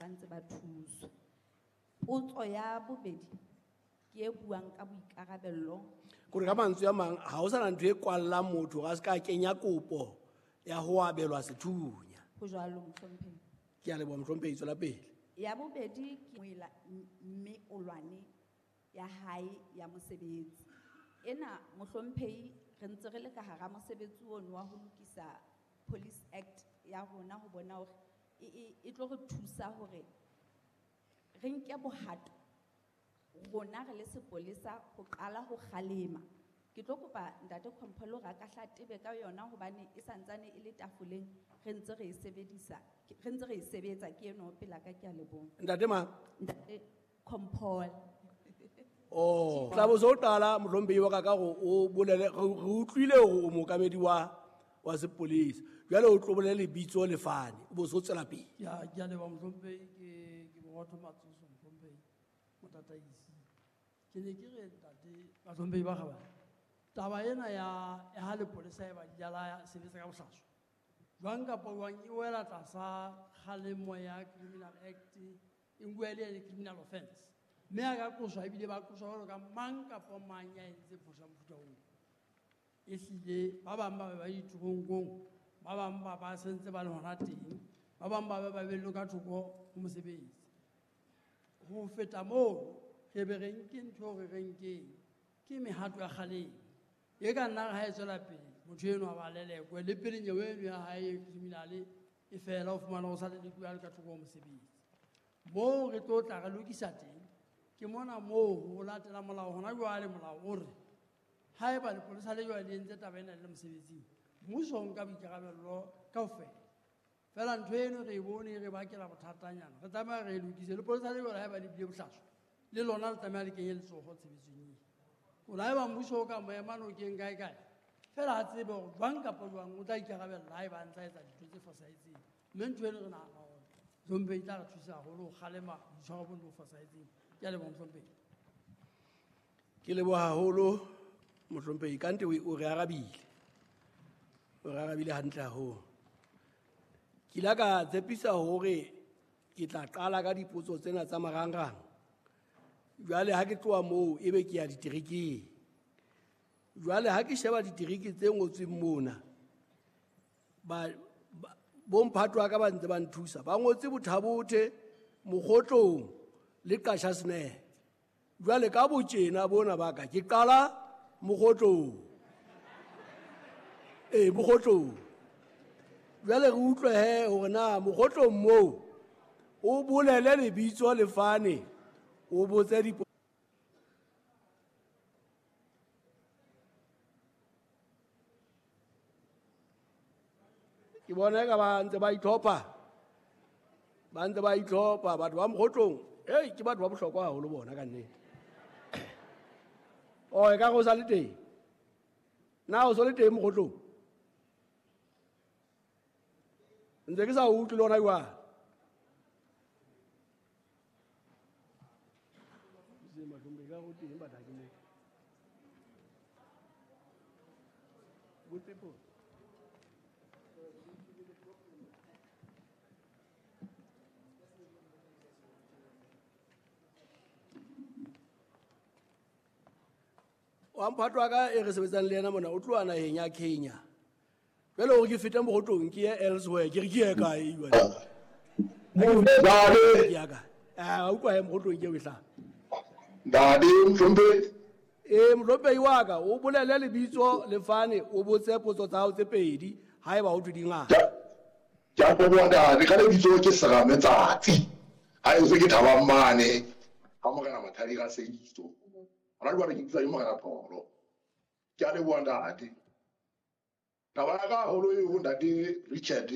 ntse ba thuswa. Potso ya bobedi ke e buang ka boikarabello. Kore ka mantswe a mang ha ho sana ntho e kwallang motho a se ka kenya kopo ya ho abelwa sethunya. Ho jwalo mohlomphehi. Ke a leboha mohlomphehi, tswela pele. Ya bobedi ke moela mme olwane ya hae ya mosebetsi. Ena mohlomphehi re ntse re le ka hara mosebetsi ono wa ho lokisa Police Act ya rona ho bona hore e tlo re thusa hore re nke bohato rona re le sepolesa ho qala ho kgalema. Ke tlo kopa ntate Khompolo hore a ka hla tebe ka yona hobane e santsane e le tafoleng, re ntse re e sebedisa, re ntse re e sebetsa ke eno pela ka ke a leboha. Ntate mang? Ntate Khompolo. Oh, tla bo so qala mohlomphehi wa ka ka hore o bolele, re utlwile hore o mookamedi wa sepolesa. Jwale o tlo bolele lebitso le fane, o bo so tswela pele. Ke a leboha mohlomphehi, ke Borotho Matsoso mohlomphehi, motataisi. Ke ne ke re ntate bahlomphehi ba kgabane, taba ena ya ha lepolesa e ba di la sebetsa ka bohlaswa. Jwang kapa jwang e wela tlasa kgalemo ya Criminal Act, e nkuwa e le criminal offense. Mme a ka qoswa ebile ba qoswa jwalo ka mang kapa mang ya entseng phoso ya mofuta oo. Ehlile ba bang ba be ba diteronkong, ba bang ba ba sentse ba le hona teng, ba bang ba be ba behellwe ka thoko ho mosebetsi. Ho feta moo, re be re nke ntho eo re re nkeng, ke mehato ya kgalemo. E ka nna ha e tswela pele, motho enwa ba lelekwe, le pele nyewe eno ya hae e criminal e fela, o fumana ho sa lelekuwe a le ka thoko ho mosebetsi. Moo re tlo tla re lokisa teng, ke mona moo ho latela molao hona jwale, molao o re haeba lepolesa le jwale le entse taba ena le le mosebetsing, mmuso o nka boikarabello kaofela. Feela ntho eno re e bone e re bakela bothatanyana, re tlameha re e lokise. Lepolesa le jwale haeba le bile bohlaswa, le lona le tlameha le kenye letsoho tshebetsong ena. Hore haeba mmuso o ka mo ema nokeng kae kae, feela a tsebe hore jwang kapa jwang o tla ikarabella haeba a ntsa etsa dintho tse fosahetseng. Mme ntho eno re nahana hore mohlomphehi e tla re thusa haholo ho kgalema boitshwaro bo bo fosahetseng. Ke a leboha mohlomphehi. Ke leboha haholo mohlomphehi, kante o re arabile. O re arabile hantle haholo. Ke ile ka tshepisa hore ke tla qala ka dipotso tsena tsa marangrang. Jwale ha ke tloha moo ebe ke ya diterekeng. Jwale ha ke sheba ditereke tse ngotsweng mona, bomphato wa ka ba ntse ba nthusa. Ba ngotse Bothabothe, Mokgotlong le Qashasne. Jwale ka botjena bona ba ka ke qala Mokgotlong. Ee, Mokgotlong. Jwale re utlwe he hore na Mokgotlong moo o bolele lebitso le fane, o botse dipo. Ke bona eka ba ntse ba itlhopha. Ba ntse ba itlhopha batho ba Mokgotlong. Hei, ke batho ba bohlokwa haholo bona ka nnete. Oh, e ka re o sa le teng. Na o so le teng Mokgotlong? Ntse ke sa utlwe le hona jwale. Good people. Wa mphato wa ka e re sebetsang le yena mona, o tloha naheng ya Kenya. Jwale hore ke fete Mokgotlong ke ye elsewhere, ke re ke ye kae jwale? Ntate. Ke ya kae? Ah, utlwa he Mokgotlong ke eo e hlaha. Ntate, mohlomphehi. Ee, mohlomphehi wa ka, o bolele lebitso le fane, o botse potso tsa hao tse pedi, haeba ho thwe di ngata. Ke a leboha ntate, ka lebitso ke Serame Tsatsi. Ha e se ke Thabang mane, ha Morena Mathadi Raseitso. Hona jwale ke bitswa ke Morena Pholo. Ke a leboha ntate. Taba ya ka haholo eo ntate Richard